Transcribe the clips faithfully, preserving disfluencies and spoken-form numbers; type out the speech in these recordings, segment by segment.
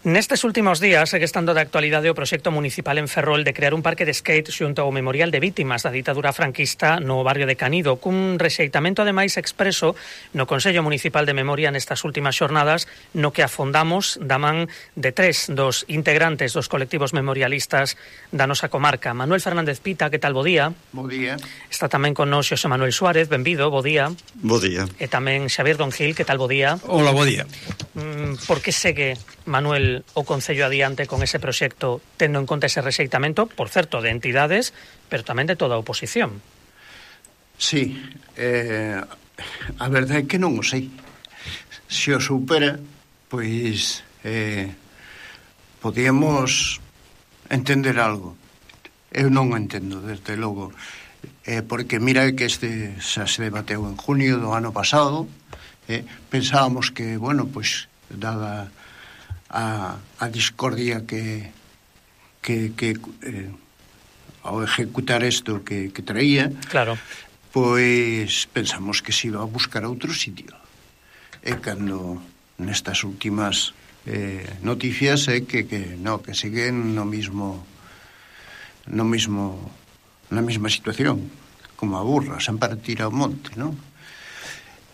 Nestes últimos días segue estando de actualidade o proxecto municipal en Ferrol de crear un parque de skate xunto ao Memorial de Vítimas da ditadura franquista no barrio de Canido, cun rexeitamento ademais expreso no Consello Municipal de Memoria nestas últimas xornadas, no que afondamos da man de tres dos integrantes dos colectivos memorialistas da nosa comarca. Manuel Fernández Pita, que tal, bo día? Bo día. Está tamén con nos Xosé Manuel Suárez, benvido, bo día. Bo día. E tamén Xavier Don Gil, que tal, bo día? Hola, bo día. Mm, por que segue, Manuel, o Concello adiante con ese proxecto, tendo en conta ese rexeitamento, por certo, de entidades, pero tamén de toda a oposición? Sí, eh, a verdade é que non o sei. Se o supera, pois eh, podíamos entender algo. Eu non o entendo, desde logo, eh, porque mira que este xa se debateu en junio do ano pasado, eh, pensábamos que, bueno, pois, dada a, a discordia que que, que eh, ao ejecutar isto que, que traía, claro, pois pensamos que se iba a buscar outro sitio. E cando nestas últimas eh, noticias é que, que no, que seguen no mismo no mismo na mesma situación, como a burra, sempre tira ao monte, non?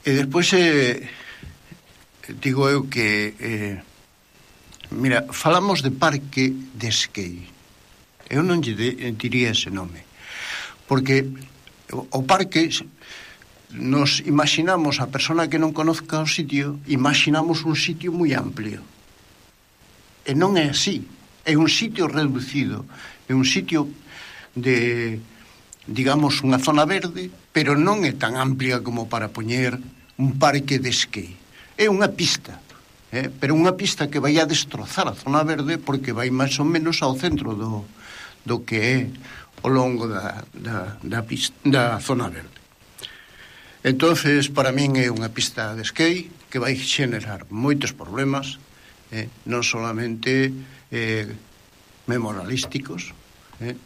E despois eh, digo eu que eh, mira, falamos de parque de skate. Eu non lle diría ese nome, porque o parque, nos imaginamos a persona que non conozca o sitio, imaginamos un sitio moi amplio. E non é así. É un sitio reducido, é un sitio de, digamos, unha zona verde, pero non é tan amplia como para poñer un parque de skate. É unha pista. Eh, pero unha pista que vai a destrozar a zona verde porque vai máis ou menos ao centro do, do que é o longo da, da, da, pista, da zona verde. Entonces, para min é unha pista de skate que vai xenerar moitos problemas, eh, non solamente eh, memorialísticos. Eh.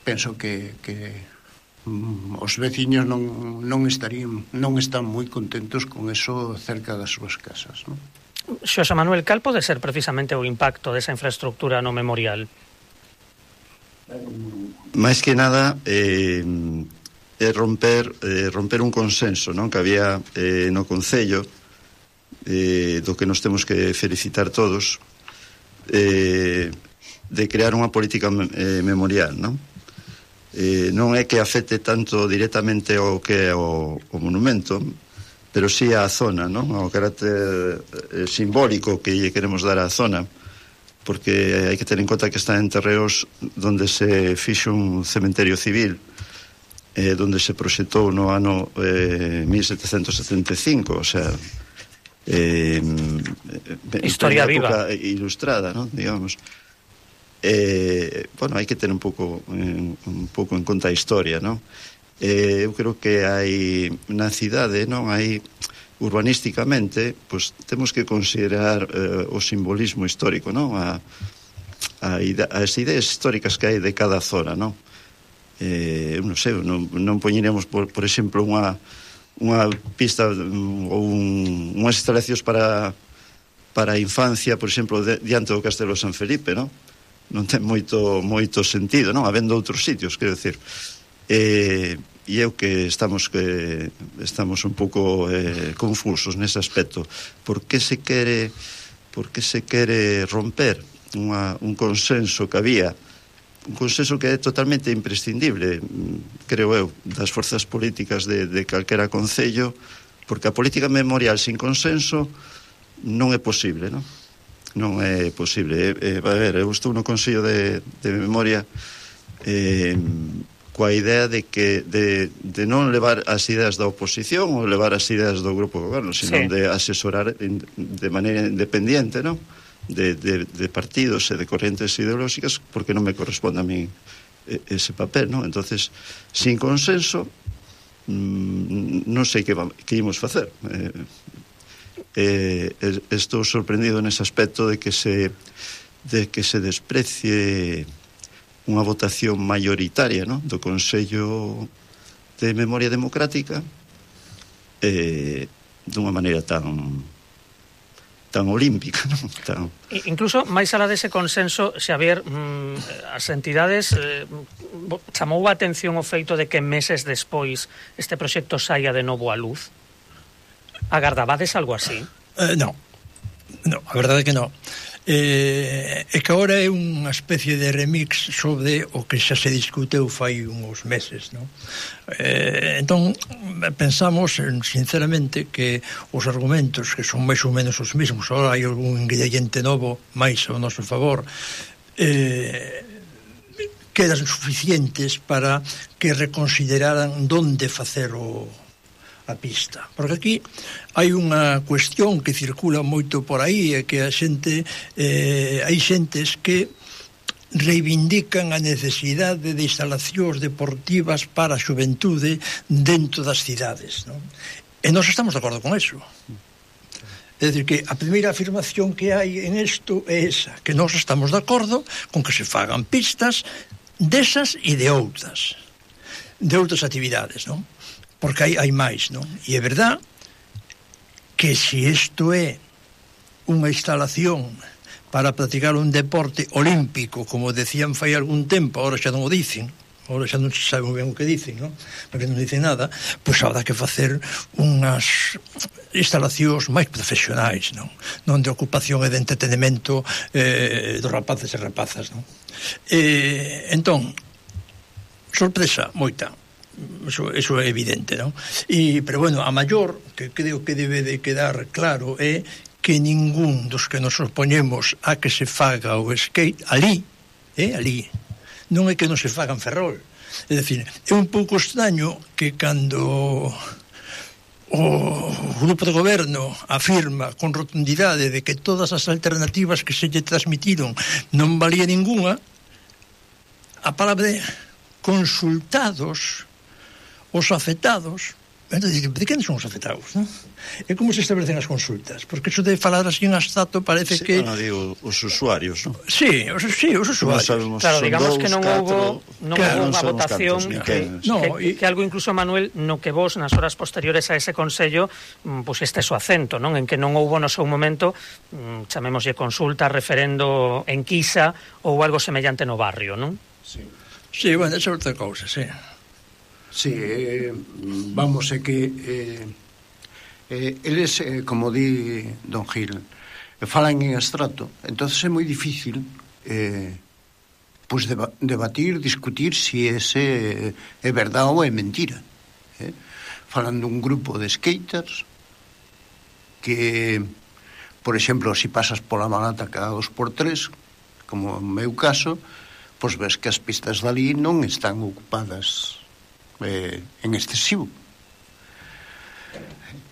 Penso que, que mm, os veciños non, non estarían non están moi contentos con eso cerca das súas casas, non? Xosé Manuel, cal pode ser precisamente o impacto desa infraestructura no memorial? Máis que nada eh, é romper eh, romper un consenso, non, que había eh, no Concello, eh, do que nos temos que felicitar todos, eh, de crear unha política eh, memorial, non? Eh, non é que afecte tanto directamente ao que é o, o monumento, pero sí á zona, non? Ao carácter eh, simbólico que lle queremos dar á zona, porque hai que ter en conta que está en terreos donde se fixo un cementerio civil, eh, donde se proxectou no ano eh, mil setecentos setenta e cinco, o sea, eh, historia viva, ilustrada, non? Digamos. Eh, bueno, hai que ter un pouco eh, un pouco en conta a historia, non? Eh, eu creo que hai na cidade, non, hai urbanísticamente, pois temos que considerar eh, o simbolismo histórico, non, a, a ida, as ideas históricas que hai de cada zona, non? Eh, non sei, non, non poñeremos por, por exemplo unha unha pista ou un, unhas instalacións para para a infancia, por exemplo, de, diante do Castelo San Felipe, non? Non ten moito moito sentido, non? Habendo outros sitios, quero decir. Eh, e eu que estamos que estamos un pouco eh, confusos nese aspecto. Por que se quere por que se quere romper unha, un consenso que había, un consenso que é totalmente imprescindible, creo eu, das forzas políticas de, de calquera concello, porque a política memorial sin consenso non é posible, non? Non é posible. Eh, a ver, eu estou no Consello de, de Memoria eh, coa idea de que de, de non levar as ideas da oposición ou levar as ideas do grupo de goberno, sino sí, de asesorar de maneira independiente, non? De, de, de partidos e de correntes ideolóxicas, porque non me corresponde a mí ese papel, non? Entonces, sin consenso, mmm, non sei que, que imos facer. Eh, eh, estou sorprendido nese aspecto de que se de que se desprecie unha votación maioritaria, non? Do Consello de Memoria Democrática, eh, dunha maneira tan tan olímpica, non? Tan... Incluso, máis alá dese consenso, Xavier, mmm, as entidades eh, chamou a atención o feito de que meses despois este proxecto saia de novo á luz? Agardabades algo así? Eh, non, non, a verdade é que non. Eh, é que agora é unha especie de remix sobre o que xa se discuteu fai uns meses, non? Eh, entón, pensamos sinceramente que os argumentos que son máis ou menos os mesmos, agora hai algún ingrediente novo máis ao noso favor, eh, quedan suficientes para que reconsideraran donde facer o a pista, porque aquí hai unha cuestión que circula moito por aí, é que a xente eh, hai xentes que reivindican a necesidade de instalacións deportivas para a xuventude dentro das cidades, non? E nós estamos de acordo con eso. É dicir, que a primeira afirmación que hai en isto é esa, que nós estamos de acordo con que se fagan pistas desas e de outras de outras actividades, non? Porque hai, hai máis, non? E é verdad que se isto é unha instalación para practicar un deporte olímpico, como decían fai algún tempo, ahora xa non o dicen, ahora xa non se sabe moi ben o que dicen, non? Porque non dicen nada, pois habrá que facer unhas instalacións máis profesionais, non? Non de ocupación e de entretenimento eh, dos rapaces e rapazas, non? Eh, entón, sorpresa moita. Eso, eso é evidente, non? E, pero bueno, a maior que creo que debe de quedar claro é que ningún dos que nos opoñemos a que se faga o skate ali, é ali, non é que non se faga en Ferrol. É dicir, é un pouco extraño que cando o grupo de goberno afirma con rotundidade de que todas as alternativas que se lle transmitiron non valía ninguna, a palabra de consultados os afectados, de quen son os afectados, non? É como se establecen as consultas, porque eso de falar así en abstracto parece sí, que... non digo, os usuarios, non? Sí, os, sí, os usuarios. Sabemos, claro, digamos dous, que non catro, houbo non claro, houbo unha non votación cantos, que, no, que, y... que algo incluso, Manuel, no que vos nas horas posteriores a ese consello pusestes o acento, non? En que non houbo no seu momento, chamémoslle consulta, referendo, enquisa ou algo semellante no barrio, non? Sí. Sí, bueno, esa é outra cousa, sí. Sí, eh, vamos, é que eh, eh, eles, eh, como di don Gil, eh, falan en abstracto, entonces é moi difícil eh, pues deba debatir, discutir si ese é verdade ou é mentira. Eh? Falan dun grupo de skaters que, por exemplo, se si pasas pola Malata cada dos por tres, como no meu caso, pois ves que as pistas dali non están ocupadas Eh, en excesivo.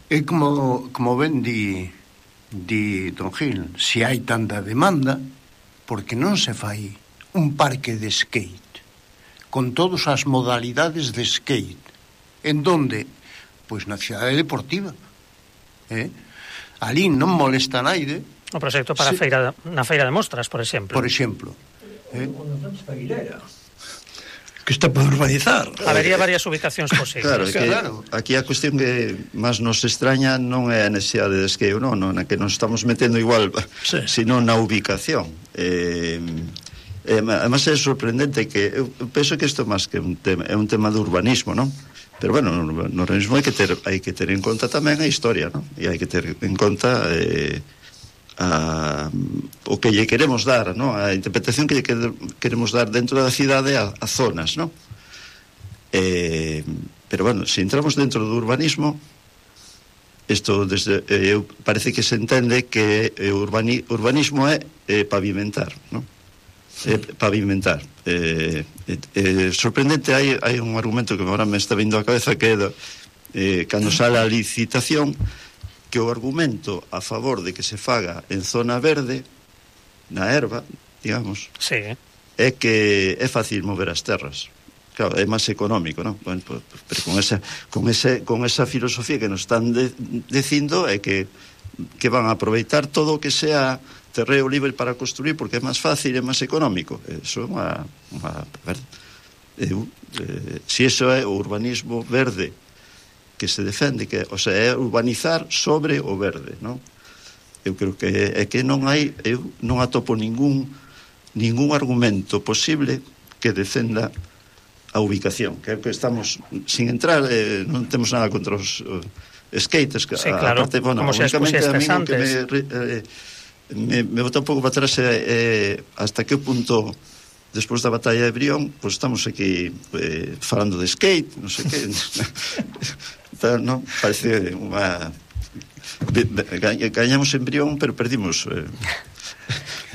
E como, como ben di, di don Gil, se hai tanta demanda, porque non se fai un parque de skate con todas as modalidades de skate, en donde? Pois na cidade deportiva, eh? Ali non molesta naide. O proxecto para se... a feira, na feira de mostras, por exemplo. Por exemplo, eh? Que está por urbanizar. Habería varias ubicacións posibles. Claro, que claro. Aquí a cuestión que máis nos extraña non é a necesidade de skate, non, non, na que nos estamos metendo igual, sí, sino na ubicación. Eh, eh, además é sorprendente que eu penso que isto máis que un tema, é un tema de urbanismo, non? Pero bueno, no, no urbanismo hai que ter hai que ter en conta tamén a historia, non? E hai que ter en conta eh, a, o que lle queremos dar, ¿no? A interpretación que lle queremos dar dentro da cidade a, a zonas, ¿no? Eh, pero bueno, se entramos dentro do urbanismo, isto desde, eh, parece que se entende que eh, urbani, urbanismo é eh, pavimentar, ¿no? Eh, pavimentar. Eh, eh, eh, sorprendente, hai, hai un argumento que agora me está vindo á cabeza que é do, eh, cando sale a licitación, que o argumento a favor de que se faga en zona verde, na erva, digamos, sí, é que é fácil mover as terras. Claro, é máis económico, non? Bueno, pues, pero con esa, con ese, con esa filosofía que nos están de, dicindo é que, que van a aproveitar todo o que sea terreo libre para construir porque é máis fácil e máis económico. Eso é unha... unha eh, eh, si eso é o urbanismo verde que se defende, que, o sea, é urbanizar sobre o verde, non? eu creo que é que non hai, eu non atopo ningún ningún argumento posible que defenda a ubicación, que é que estamos sin entrar, eh, non temos nada contra os uh, skaters, que sí, claro, aparte, bueno, como se únicamente a mí antes. Que me, eh, me, me bota un pouco para atrás eh, hasta que punto despois da batalla de Brión, pois pues estamos aquí eh, falando de skate, non sei que tal, non? Parece unha gañamos en Brión, pero perdimos eh,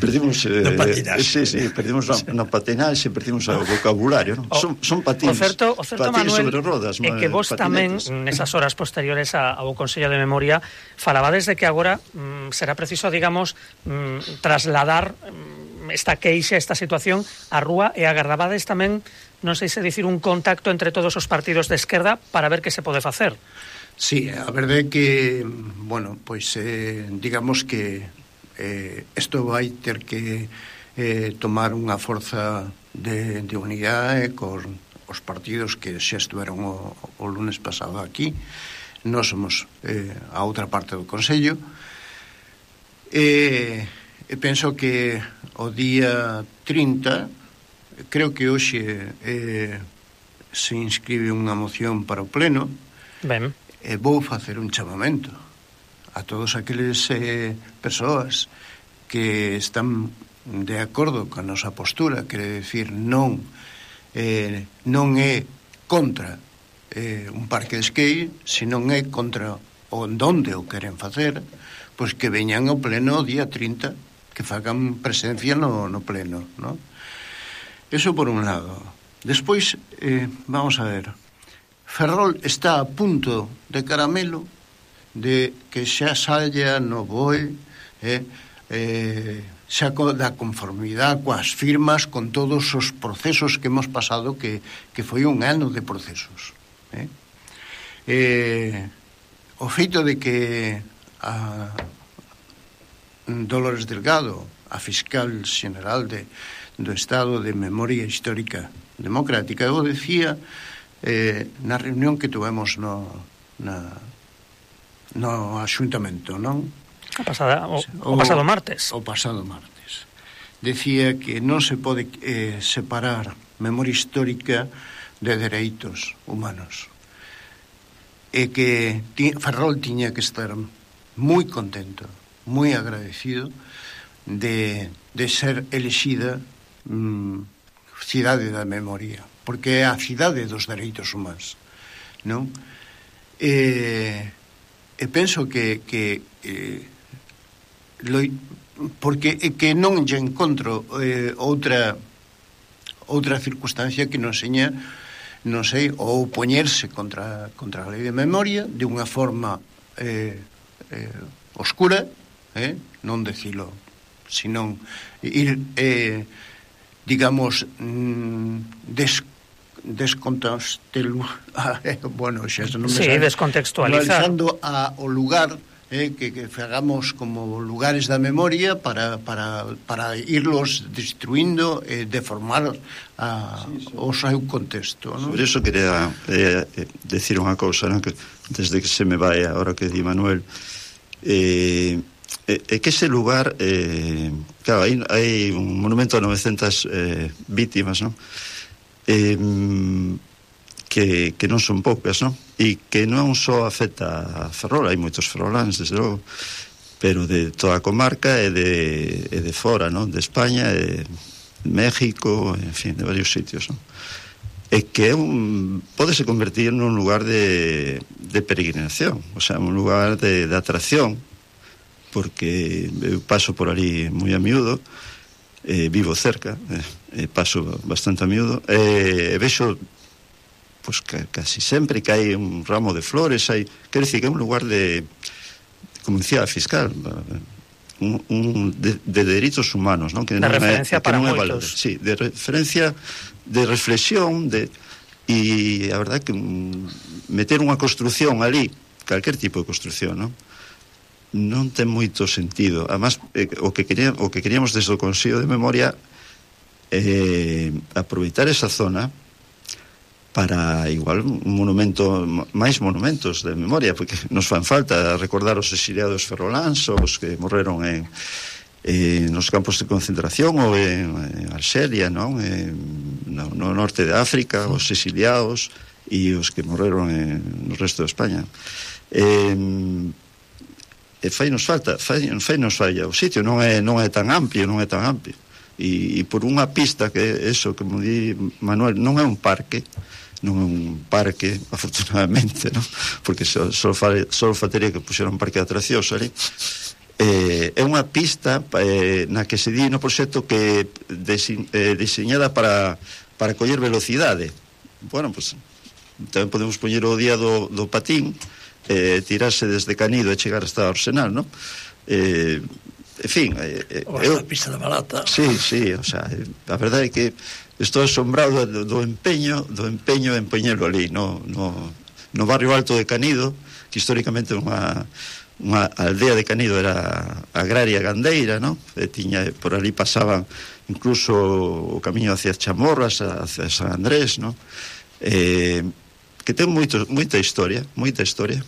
perdimos eh, no patinaxe. Sí, sí, perdimos no, no patinaxe, perdimos o vocabulario, non? O, son, son patins, o certo, o certo patins Manuel, sobre rodas, é que vos patinetes. tamén nesas horas posteriores ao Consello de Memoria falabades de que agora mm, será preciso, digamos, mm, trasladar mm, esta queixa, esta situación á rúa, e agardabades tamén, non sei se dicir, un contacto entre todos os partidos de esquerda para ver que se pode facer. Sí, a verdade é que, bueno, pois eh, digamos que eh, isto vai ter que eh, tomar unha forza de, de unidade con os partidos que xa estuveron o, o lunes pasado aquí. Nós somos eh, a outra parte do Consello, e, e penso que o día trinta, creo que hoxe eh, se inscribe unha moción para o Pleno. Ben. E vou facer un chamamento a todos aqueles eh, persoas que están de acordo con a nosa postura, quere decir, non eh, non é contra eh, un parque de skate, senón é contra onde o queren facer, pois que veñan ao pleno o día trinta, que fagan presencia no, no pleno, ¿no? Eso por un lado. Despois, eh, vamos a ver, Ferrol está a punto de caramelo de que xa saia no B O E eh, eh, xa da conformidade coas firmas, con todos os procesos que hemos pasado, que, que foi un ano de procesos. Eh? Eh, o feito de que a Dolores Delgado, a fiscal xeneral de, do Estado de Memoria Histórica Democrática, eu decía Eh, na reunión que tuvemos no, na, no axuntamento, non? A pasada, o, o, o pasado martes. O pasado martes. Decía que non se pode eh, separar memoria histórica de dereitos humanos. E que ti, Ferrol tiña que estar moi contento, moi agradecido de, de ser elexida mm, cidade da memoria, porque é a cidade dos dereitos humanos, non? E, e penso que, que eh, lo, porque é que non lle encontro eh, outra outra circunstancia que nos seña, non sei, ou poñerse contra, contra a lei de memoria de unha forma eh, eh, oscura, eh, non decilo, senón ir eh, digamos mm, des descontextualizando bueno, xa non me sí, sabe, descontextualizar a, o lugar eh, que, que fagamos como lugares da memoria para, para, para irlos destruindo e eh, deformar a, sí, sí. o seu contexto, ¿no? Sobre eso quería eh, decir unha cousa, ¿no? Que desde que se me vai ahora que di Manuel, eh, é que ese lugar eh, claro, hai, hai un monumento a novecentas eh, vítimas, ¿no? Eh, que, que non son poucas, non? E que non só afecta a Ferrol, hai moitos ferroláns, desde logo, pero de toda a comarca e de, e de fora, non? De España, e de México, en fin, de varios sitios, non? E que é un, pódese convertir nun lugar de, de peregrinación, o sea, un lugar de, de atracción, porque eu paso por ali moi a miúdo, eh, vivo cerca, eh, paso bastante a miúdo, e eh, vexo pues, que, casi sempre que hai un ramo de flores, hai, quero dicir que é un lugar de, como dicía a fiscal, un, un de, de dereitos humanos, ¿no? Que de non referencia é, que para non é moitos. Sí, de referencia, de reflexión, de, e a verdade que um, meter unha construción ali, calquer tipo de construción, non? Non ten moito sentido. Además, eh, o, que quería, o que queríamos desde o Consello de Memoria eh, aproveitar esa zona para igual un monumento, máis monumentos de memoria, porque nos fan falta recordar os exiliados ferroláns, os que morreron en, en nos campos de concentración ou en, en Arxelia, non? En, no, no norte de África, os exiliados e os que morreron en, no resto de España. Eh, e fai nos falta, fai, fai nos falla o sitio, non é, non é tan amplio, non é tan amplio. E, e por unha pista que eso, como di Manuel, non é un parque, non é un parque, afortunadamente, non? Porque só, só, só faltaría que puxeran un parque de atraccións ali. Eh, é unha pista eh, na que se di no proxecto que desi, eh, diseñada para, para coller velocidade. Bueno, pues tamén podemos poñer o día do, do patín, eh, tirarse desde Canido e chegar hasta Arsenal, non? Eh, en fin, eh, ou hasta a pista da Malata. Sí, sí, o sea, a verdade é que estou asombrado do, do empeño do empeño en poñelo ali no, no, no barrio alto de Canido, que históricamente unha, unha aldea de Canido era agraria gandeira, no? E tiña, por ali pasaban incluso o camiño hacia Chamorras, hacia San Andrés, no? Eh, que ten moito, moita historia, moita historia.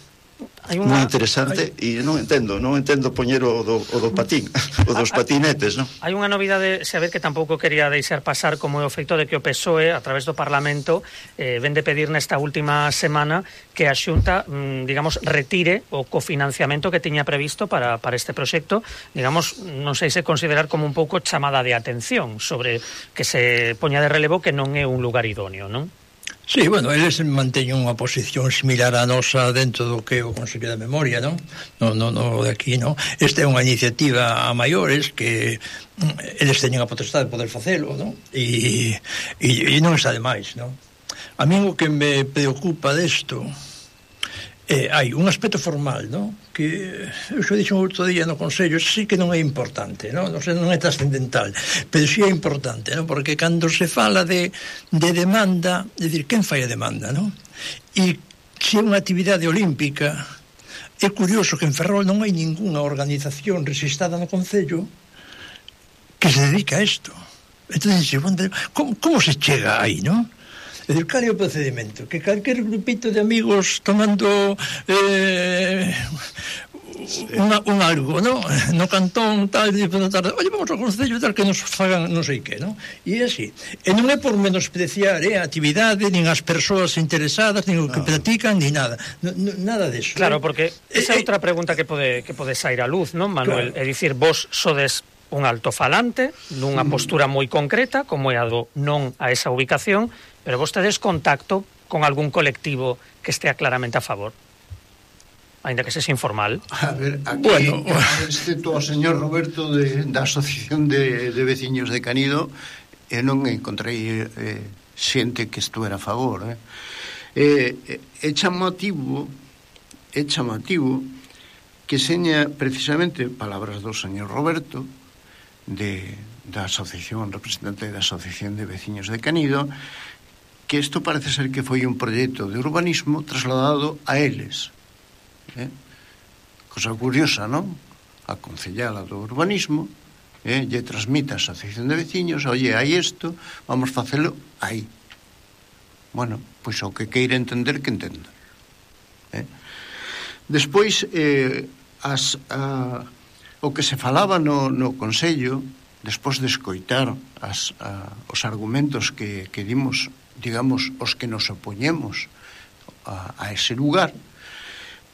Hai unha, moi interesante hai... e non entendo, non entendo poñer o do, o do patín, o dos patinetes, non? Hai unha novidade, saber que tampouco quería deixar pasar, como é o feito de que o P S O E, a través do Parlamento, eh, ven de pedir nesta última semana que a Xunta, mm, digamos, retire o cofinanciamento que tiña previsto para, para este proxecto, digamos, non sei se considerar como un pouco chamada de atención sobre que se poña de relevo que non é un lugar idóneo, non? Sí, bueno, eles manteñen unha posición similar á nosa dentro do que é o Consello de Memoria, non? No, no, no de aquí, non? Esta é unha iniciativa a maiores que eles teñen a potestade de poder facelo, non? E, e, e non está de máis, non? A mí o que me preocupa desto eh, hai un aspecto formal, non? Que eu xo dixo outro día no Consello, sí que non é importante, non? Non, sei, non é trascendental, pero sí é importante, non? Porque cando se fala de, de demanda, é dicir, quen fai a demanda, non? E se é unha actividade olímpica, é curioso que en Ferrol non hai ningunha organización registrada no Concello que se dedica a isto. Entón, como, como se chega aí, non? É dicir, cal é o procedimento? Que calquer grupito de amigos tomando eh, unha, un algo, ¿no? No cantón, tal, e por tarde, oye, vamos ao Concello tal, que nos fagan non sei que, ¿no? E é así. E non é por menospreciar eh, a actividade, nin as persoas interesadas, nin o que no. practican, nin nada. No, no, nada deso. Claro, porque esa é eh, outra pregunta que pode, que pode sair a luz, non, Manuel? Claro. É dicir, vos sodes un altofalante nunha postura moi concreta, como é a do non a esa ubicación, pero vos tedes contacto con algún colectivo que estea claramente a favor, ainda que sexa informal. A ver, aquí bueno, excepto o señor Roberto de, da Asociación de, de Veciños de Canido, eu non encontrei eh, xente que estuera a favor, eh. Eh, é chamativo é chamativo que seña precisamente palabras do señor Roberto de, da asociación, representante da Asociación de Veciños de Canido, que isto parece ser que foi un proxecto de urbanismo trasladado a eles, eh? Cosa curiosa, non? A concellala do urbanismo eh? lle transmite a Asociación de Veciños, oye, hai isto, vamos facelo aí. Bueno, pois o que queira entender que entenda, eh? Despois eh, as, a, o que se falaba no, no Consello, despois de escoitar as, a, os argumentos que, que dimos, digamos, os que nos opoñemos a, a ese lugar,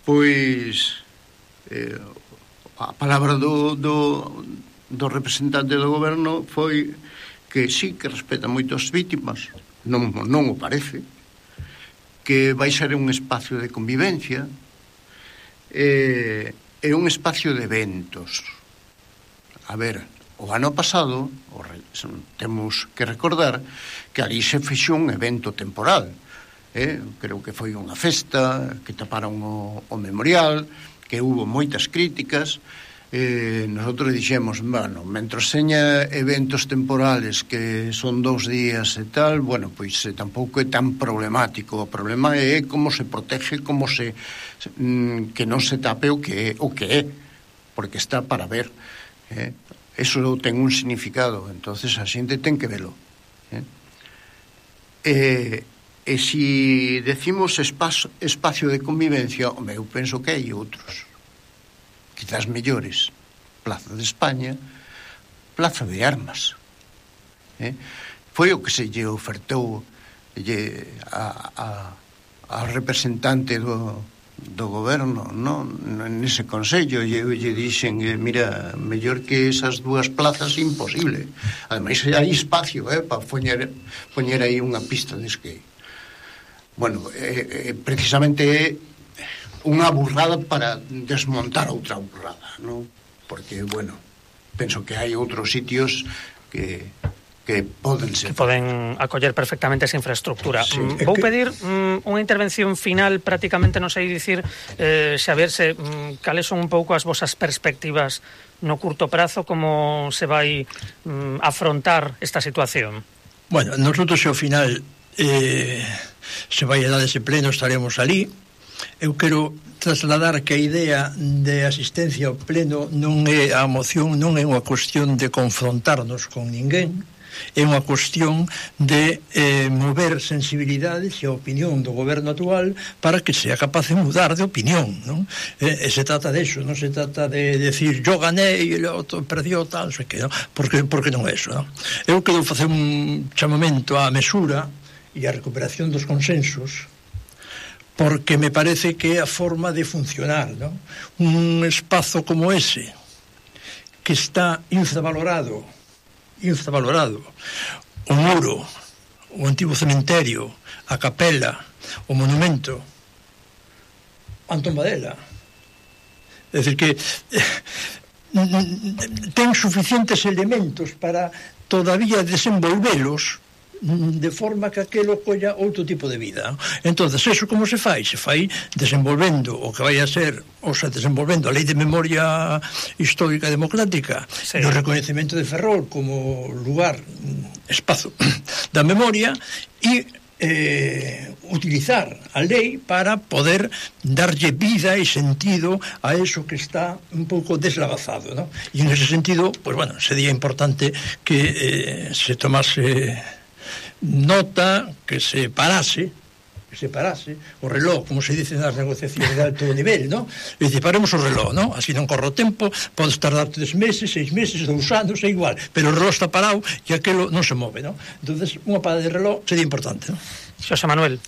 pois eh, a palabra do, do, do representante do goberno foi que sí, que respeta moito as vítimas, non, non o parece, que vai ser un espacio de convivencia, eh, é un espacio de eventos. A ver, o ano pasado o re, temos que recordar que ali se fixou un evento temporal, eh? Creo que foi unha festa que taparon o, o memorial, que hubo moitas críticas, eh, nosotros dixemos, bueno, mentras seña eventos temporales que son dous días e tal, bueno, pois eh, tampouco é tan problemático. O problema é como se protege, como se mm, que non se tape o que é, o que é, porque está para ver, eh? Eso ten un significado, entonces a xente ten que velo, eh? E, e e si decimos espacio, espacio de convivencia, home, eu penso que hai outros, quizás mellores. Plaza de España, Plaza de Armas. Eh? Foi o que se lle ofertou lle, a, a, a representante do, do goberno, no? Nese consello, lle, lle dixen, eh, mira, mellor que esas dúas plazas, imposible. Ademais, hai espacio, eh, para poñer, poñer aí unha pista de skate. Bueno, eh, eh, precisamente é unha burrada para desmontar outra burrada, non? Porque, bueno, penso que hai outros sitios que, que poden ser... Que poden acoller perfectamente esa infraestructura. Sí. Mm, vou pedir mm, unha intervención final, prácticamente, non sei dicir, eh, Xavier, se, mm, cales son un pouco as vosas perspectivas no curto prazo, como se vai mm, afrontar esta situación? Bueno, nosotros ao final eh, se vai a dar ese pleno, estaremos ali. Eu quero trasladar que a idea de asistencia ao pleno non é a moción, non é unha cuestión de confrontarnos con ninguén, é unha cuestión de eh, mover sensibilidades e a opinión do goberno actual para que sea capaz de mudar de opinión, non? E, e se trata de eso, non se trata de decir yo gané e el outro perdió, tal, non sei que, non? Porque, porque non é eso, non? Eu quero facer un chamamento á mesura e á recuperación dos consensos, porque me parece que é a forma de funcionar, ¿no? Un espazo como ese, que está infravalorado, infravalorado, o muro, o antigo cementerio, a capela, o monumento, Antón Badela. É dicir que ten suficientes elementos para todavía desenvolvelos de forma que aquelo colla outro tipo de vida. Entonces, eso como se fai? Se fai desenvolvendo o que vai a ser, ou sea, desenvolvendo a Lei de Memoria Histórica Democrática, sí, do recoñecemento de Ferrol como lugar, espazo da memoria, e eh, utilizar a lei para poder darlle vida e sentido a eso que está un pouco deslavazado, ¿no? E en ese sentido, pues bueno, sería importante que eh, se tomase nota, que se parase que se parase o reloj, como se dice nas negociacións de alto nivel, ¿no? E dice, paremos o reloj, ¿no? Así non corre o tempo, podes tardar tres meses, seis meses, dous anos, é igual, pero o reloj está parado e aquelo non se move, ¿no? Entonces, unha parada de reloj sería importante, ¿no? Xosé Manuel.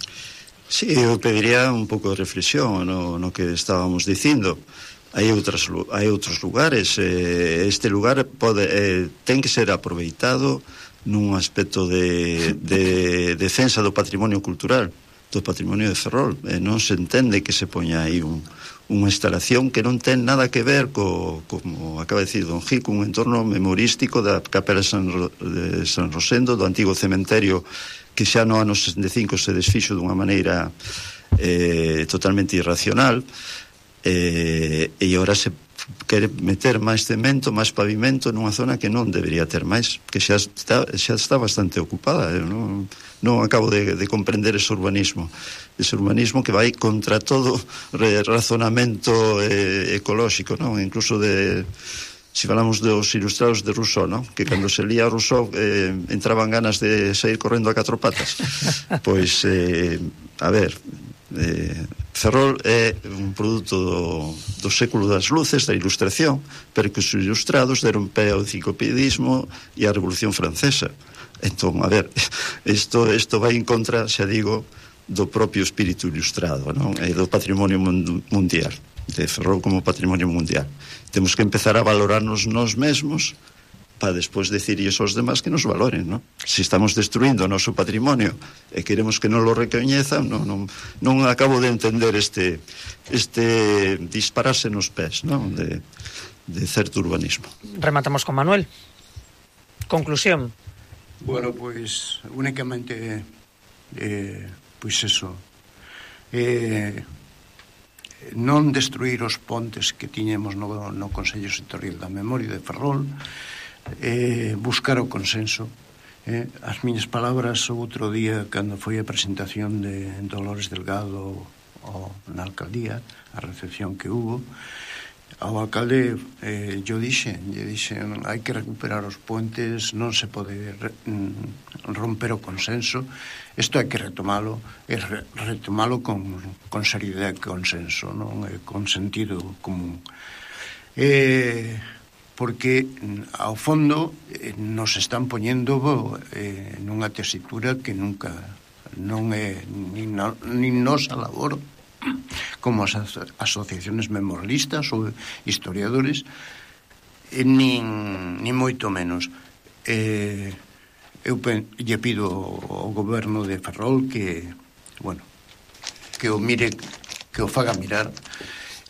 Sí, eu pediría un pouco de reflexión no, no que estábamos dicindo. Hai outras, hai outros lugares, eh, este lugar pode, eh, ten que ser aproveitado nun aspecto de, de defensa do patrimonio cultural, do patrimonio de Ferrol. E non se entende que se poña aí un, unha instalación que non ten nada que ver co, como acaba de decir Don Gil, un entorno memorístico da capela de San, de San Rosendo, do antigo cementerio que xa no ano sesenta e cinco se desfixo dunha maneira eh, totalmente irracional, eh, e agora se quere meter máis cemento, máis pavimento nunha zona que non debería ter máis, que xa está, xa está bastante ocupada. Eu non, non acabo de, de comprender ese urbanismo ese urbanismo que vai contra todo razonamento eh, ecolóxico, non? Incluso de, si falamos dos ilustrados de Rousseau, non? Que cando se lía Rousseau eh, entraban ganas de sair correndo a catro patas. Pois, eh, a ver, eh, Ferrol é un produto do, do século das luces, da ilustración, pero que os ilustrados deron pé ao enciclopedismo e á Revolución Francesa. Entón, a ver, isto, isto vai en contra, xa digo, do propio espírito ilustrado, non? E do patrimonio mundial, de Ferrol como patrimonio mundial. Temos que empezar a valorarnos nós mesmos para despois decirles aos demás que nos valoren, non? Se estamos destruindo o noso patrimonio e queremos que non lo recoñezan, non, non, non acabo de entender este, este dispararse nos pés, non? De, de certo urbanismo. Rematamos con Manuel. Conclusión. Bueno, pois, pues, únicamente, eh, pois pues eso, eh, non destruir os pontes que tiñemos no, no Consello Sectorial da Memoria de Ferrol, eh, buscar o consenso. Eh, as miñas palabras o outro día, cando foi a presentación de Dolores Delgado o, na alcaldía, a recepción que hubo, ao alcalde eh, yo dixe, lle dixen hai que recuperar os puentes, non se pode re, romper o consenso, isto hai que retomalo e re, retomalo con, con seriedade e consenso, non? E con sentido común. Eh, porque ao fondo eh, nos están poñendo eh, nunha tesitura que nunca non é nin, no, nin nosa labor como as asociaciones memorialistas ou historiadores, eh, nin, nin moito menos. Eh, eu pen, lle pido ao goberno de Ferrol que, bueno, que o mire, que o faga mirar,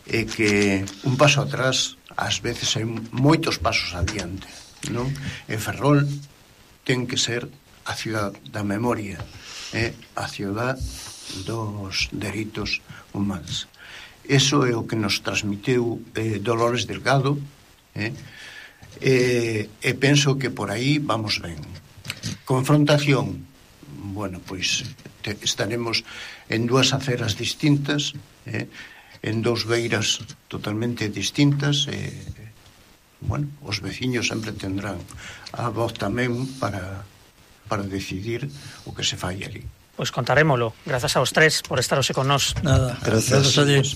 e que un paso atrás ás veces hai moitos pasos adiante, non? E Ferrol ten que ser a ciudad da memoria, é a ciudad dos dereitos humanos. Eso é o que nos transmiteu eh, Dolores Delgado, eh? E, e penso que por aí vamos ben. Confrontación, bueno, pois te, estaremos en dúas aceras distintas, eh? En dous beiras totalmente distintas, e, bueno, os veciños sempre tendrán a voz tamén para, para decidir o que se fai ali. Pois contarémolo. Grazas aos tres por estar hoxe con nós. Nada, Grazas. Grazas a Dios.